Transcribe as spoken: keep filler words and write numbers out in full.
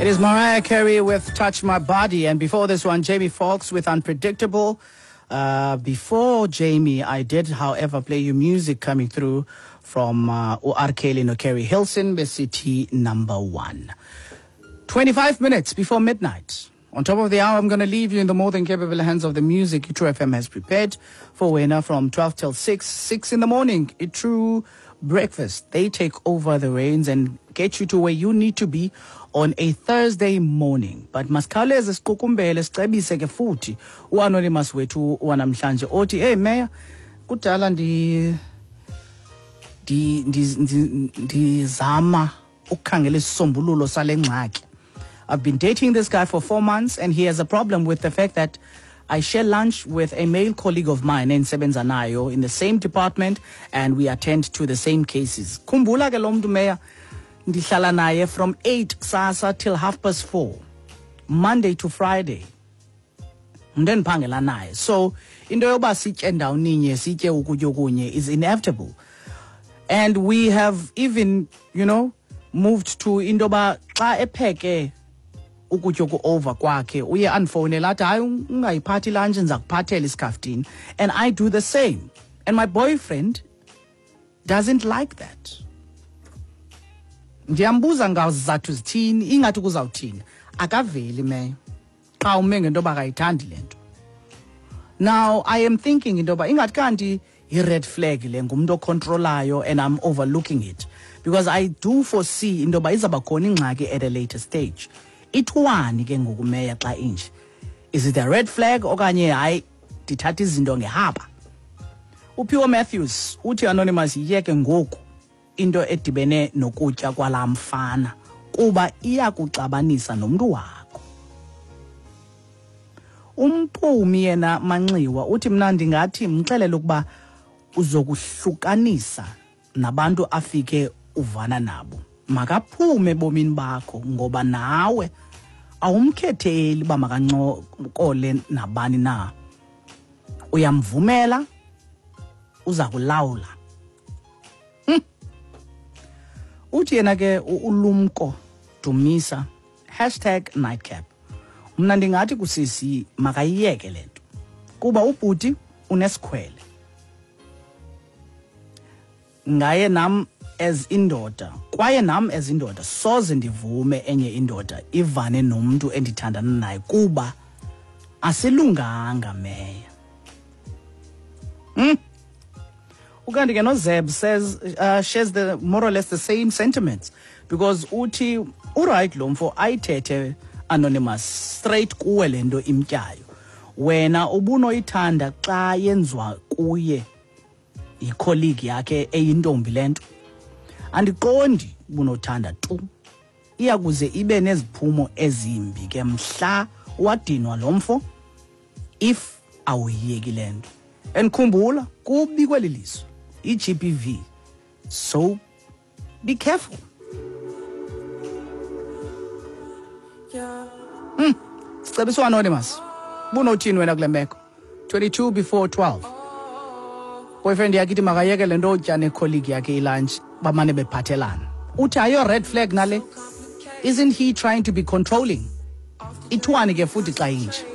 It is Mariah Carey with Touch My Body, and before this one, Jamie Foxx with Unpredictable. Uh, before Jamie, I did, however, play you music coming through from uh, R. Kelly no Keri Hilson, B C T number one. twenty-five minutes before midnight. On top of the hour, I'm gonna leave you in the more than capable hands of the music iTru F M has prepared for wena from twelve till six, six in the morning. iTru Breakfast. They take over the reins and get you to where you need to be on a Thursday morning. But masikhawuleze siqukumbele sicebise ke futhi uAnonymous wethu wanamhlanje othi, hey mayor, kudala ndi ndi ndizama ukukhangela isisombululo sale ngxaki. I've been dating this guy for four months and he has a problem with the fact that I share lunch with a male colleague of mine endisebenza nayo in the same department and we attend to the same cases. Khumbula ke lo mntu mayor, ndihlala naye from eight kusasa till half past four, Monday to Friday. Umntu endiphangela naye. So into yoba sitye ndawoninye, sitye ukutya okunye is inevitable. And we have even, you know, moved to into yoba xa epheke ukutya oku-over kwakhe uye andifowunele athi hayi ungayiphathi lunch ndiza kuphathela isikhaftini, and I do the same, and my boyfriend doesn't like that. Ndiyambuza ngazizathu zithini, ingathi kuzawuthini, akaveli meyo xa ume ngento yoba akayithandi le nto. Now I am thinking into yoba ingathi kanti yi-red flag le, ngumntu ocontrolayo and I'm overlooking it because I do foresee into yoba izawuba khona ingxaki at a later stage. Ithiwani ke ngoku meya xa inje? Is it a red flag okanye hayi ndithatha izinto ngehaba? UPhiwo Matthews uthi Anonymous yiyeke ngoku into edibene nokutya kwalaa mfana kuba iyakuxabanisa nomntu wakho. Umphumi yena Manxiwa uthi mna ndingathi mxelele ukuba uzokuhlukanisa nabantu afike uvana nabo. Makaphume ebomini bakho ngoba nawe awumkhetheli uba makancokole nabani na. Uyamvumela, uza kulawula. Hmm. Uthi yena ke uLumko Dumisa, hashtag nightcap. Mna ndingathi kusisi makayiyeke le nto kuba ubhuti unesikhwele. Ngaye nam as indoda, kwaye nam as indoda soze ndivume enye indoda ivane nomntu endithandana naye kuba asilunganga meya. Hmm. Ukanti ke noZeb says uh, shares the more or less the same sentiments because uthi uright lo mfo ayithethe Anonymous straight kuwe le nto imtyayo. Wena ubunoyithanda xa yenziwa kuye yicolleague yakhe eyintombi le nto. Andiqondi ubunothanda tu. Iyakuze ibe neziphumo ezimbi ke mhla wadinwa lo mfo if awuyiyeki le nto. And khumbula kubi kweli lizwe i-G B V, so be careful. Mm. Sicebiswa Anonymous, bunothini wena kule meko? twenty-two before twelve. Boyfriend yakhe ithi makayeke le nto otya necolleague yakhe ilunch, bamane bephathelana. Uthi ayo red flag nale? Isn't he trying to be controlling? Ithiwani ke futhi xa inje?